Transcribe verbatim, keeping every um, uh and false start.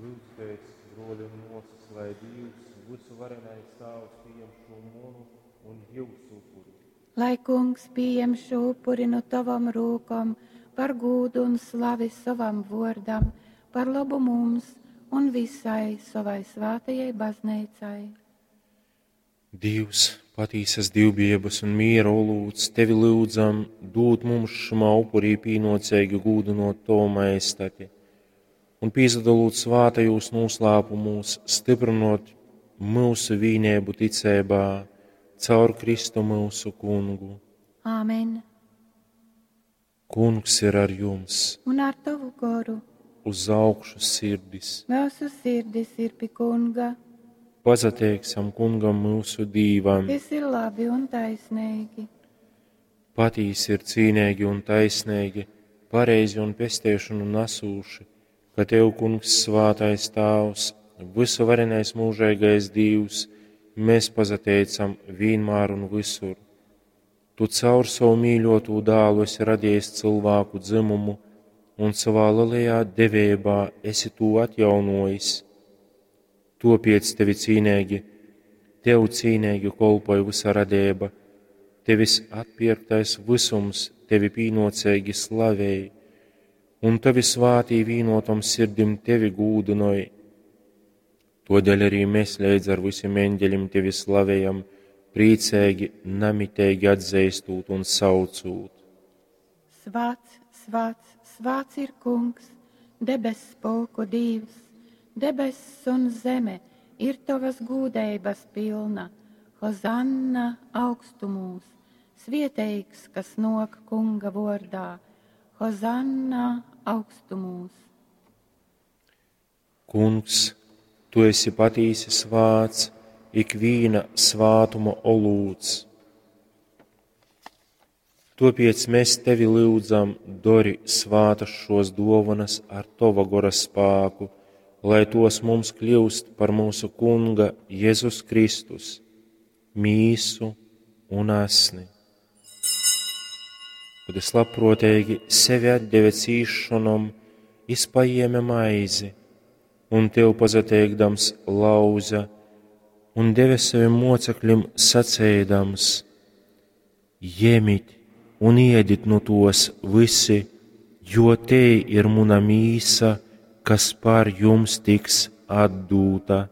Lyudzitēs, bruoli un muosys, lai Dīvs, vysuvarenais Tāvs, pījem šū munu un jiusu upuri. Lai Kungs pījem šū upuri nu tovom rūkom par gūdu un slavi sovam vuordam, par lobu mums un visai sovai svātajai bazneicai. Dīvs, patīsas dīvbijeibys un mīra olūts, tevi lyudzam, dūd mums šymā upurī pīnuoceigi gūdynuot tovu majestati un, pīsadolūt svātajūs nūslāpumūs, styprynuot myusu vīneibu ticeibā caur Kristu myusu Kungu. Āmen. Kungs ir ar jums! Un ar tovu goru. Uz augšu sirdis! Myusu sirdis ir pi Kunga. Pasateiksim Kungam myusu Dīvam! Tys ir labi un taisneigi. Patīsi ir cīneigi un taisneigi, pareizi un pesteišonu nasūši, ka tev, Kungs, svātais Tāvs, vysuvarenais mūžeigais Dīvs, mēs pasateicam vīnmār un vysur. Tu caur savu mīļotū dālu esi radījis cylvāku dzymumu un savā lielajā deveibā esi tū atjaunojis. Topiec tevi cīneigi, tev cīneigi kolpoj vysa radeiba, tevis atpierktais vysums tevi pīnuoceigi slavej, un tavi svātī vīnotom sirdim tevi gūdynoj. Todēļ arī mēs leidz ar visiem eņģeļiem tevi slavējam, priecīgi, namiteigi atzīstot un saucot. Svāts, svāts, svāts ir Kungs, debess pulku Dīvs, debess un zeme ir tavas gūdeibas pilna. Hozanna augstumūs, svieteigs, kas nok Kunga vordā. Hozanna augstumūs. Kungs, tu esi patīsi svāts, ikvīna svātuma olūts. Topiec mēs tevi lyudzam, dori svātas šos dovanas ar tova gora spāku, lai tos mums kļūst par mūsu Kunga Jēzus Kristus, mīsu un asni. Kad es labprātīgi sevi atdeve cīšanom, es paēma maizi, un tev pasateikdams lauza, un deva saviem mocekļiem sacēdams: Jemit un iedit nu tos visi, jo te ir muna mīsa, kas par jums tiks atdūta.